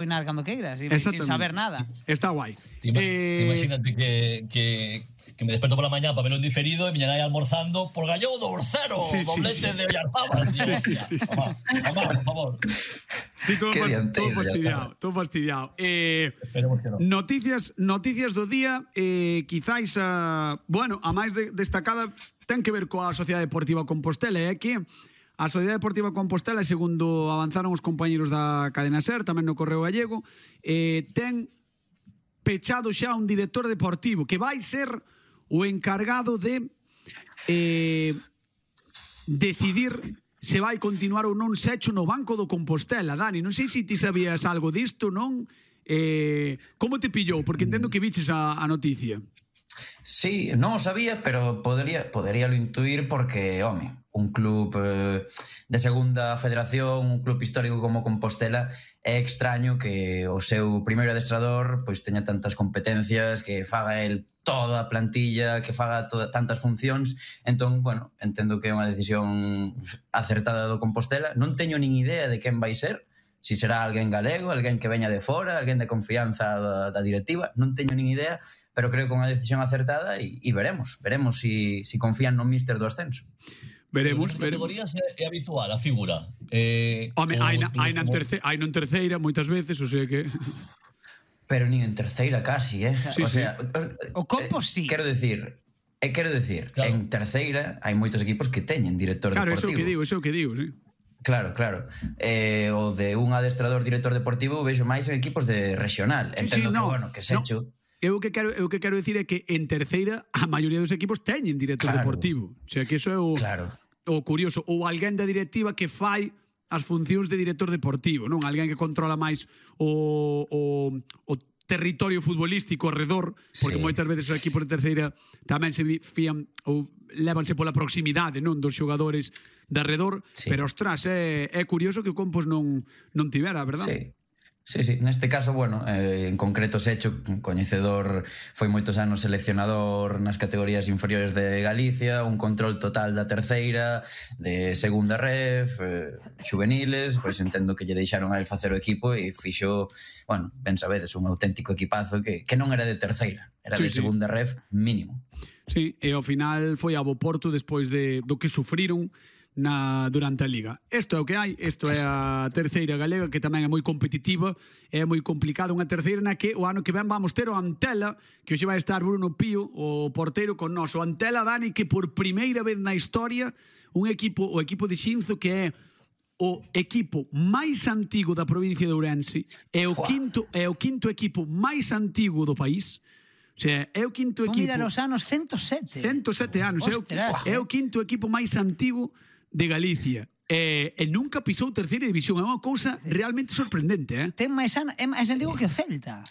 opinar cando queiras, sin saber nada. Está guai. Imagínate que me desperto por la mañana para verlo en diferido y me llegan ahí almorzando por Galló 2-0, doblete de Villarzábal. Sí. Mamá, por favor. Todo fastidiado. Esperemos que no. Noticias do día, quizáis a máis destacada ten que ver coa Sociedade Deportiva Compostela, que a Sociedade Deportiva Compostela, segundo avanzaron os compañeros da cadena SER, tamén no Correo Gallego, ten pechado xa un director deportivo que vai ser o encargado de decidir se vai continuar ou non Secho no banco do Compostela. Dani, non sei se ti sabías algo disto, non? Como te pillou? Porque entendo que viches a noticia. Sí, non o sabía, pero poderíalo intuir porque, home, un club de segunda federación, un club histórico como Compostela, é extraño que o seu primeiro adestrador pois teña tantas competencias, que faga el toda a plantilla, que faga tantas funcións. Entón, bueno, entendo que é unha decisión acertada do Compostela. Non teño nin idea de quen vai ser, si será alguén galego, alguén que veña de fora, alguén de confianza da directiva, non teño nin idea, pero creo que é unha decisión acertada e veremos si confían no míster do ascenso. Veremos. Nas categorías é habitual a figura. Home, hai non terceira moitas veces, o sea que... Pero nin en terceira casi, Sí, o sea, o Compos sí. Quero decir, claro, en terceira hai moitos equipos que teñen director deportivo. Claro, eso é o que digo, sí. Claro. O de un adestrador director deportivo vexo máis en equipos de regional. Entendo que Secho... Eu que quero dicir é que en terceira a maioría dos equipos teñen director deportivo. O sea, que eso é o curioso. Ou alguén da directiva que fai as funcións de director deportivo, non? Alguén que controla máis o territorio futbolístico alrededor, porque moitas veces os equipos de terceira tamén se fían ou lévanse pola proximidade, non, dos xogadores de alrededor, pero ostras, é curioso que o Compos non tivera, verdad? Sí, neste caso, bueno, en concreto Secho, coñecedor, foi moitos anos seleccionador nas categorías inferiores de Galicia, un control total da terceira, de segunda ref, xuveniles, pois entendo que lle deixaron a el facer o equipo e fixo, bueno, ben sabedes, un auténtico equipazo que non era de terceira, era de segunda ref mínimo. Sí, e ao final foi a bo Porto despois do que sufriron durante a Liga. Isto é o que hai, isto é a terceira galega, que tamén é moi competitiva, é moi complicado, unha terceira na que o ano que ven vamos ter o Antela, que hoxe vai estar Bruno Pío, o porteiro con nós. O Antela, Dani, que por primeira vez na historia o equipo de Xinzo, que é o equipo máis antigo da provincia de Ourense, é o quinto equipo máis antigo do país. O sea, é o quinto equipo... Mira nos anos 107. 107 anos. É o quinto equipo máis antigo de Galicia. E nunca pisou terceira división. É unha cousa realmente sorprendente, Ten máis antigo que o Celta.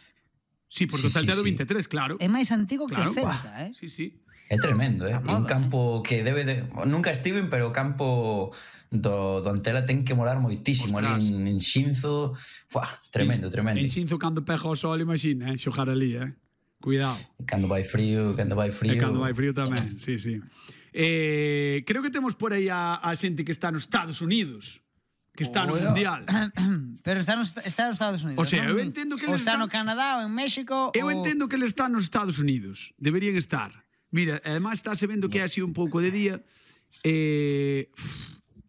Sí, porque o Celta é do 23, claro. É máis antigo que o Celta, Sí. É tremendo, un campo que debe de... Nunca estiven, pero o campo do Antela ten que morar moitísimo. Ali en Xinzo. Tremendo. En Xinzo, cando pega o sol, imagina, xogar ali, Cuidado. Cando vai frío. E cando vai frío tamén, sí. Creo que temos por aí a xente que está nos Estados Unidos, que está no Mundial. Pero está nos Estados Unidos. O sea, eu entendo que está no Canadá ou en México. Eu entendo que ele está nos Estados Unidos. Deberían estar. Mira, además estáse vendo que é así un pouco de día.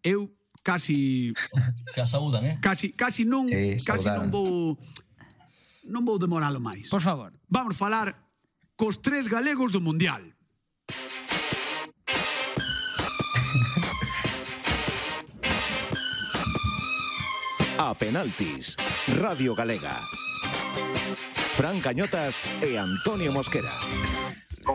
Eu casi... Se saúdan, Casi non vou demoralo máis. Por favor. Vamos falar cos 3 galegos do Mundial. A penaltis, Radio Galega. Fran Cañotas e Antonio Mosquera.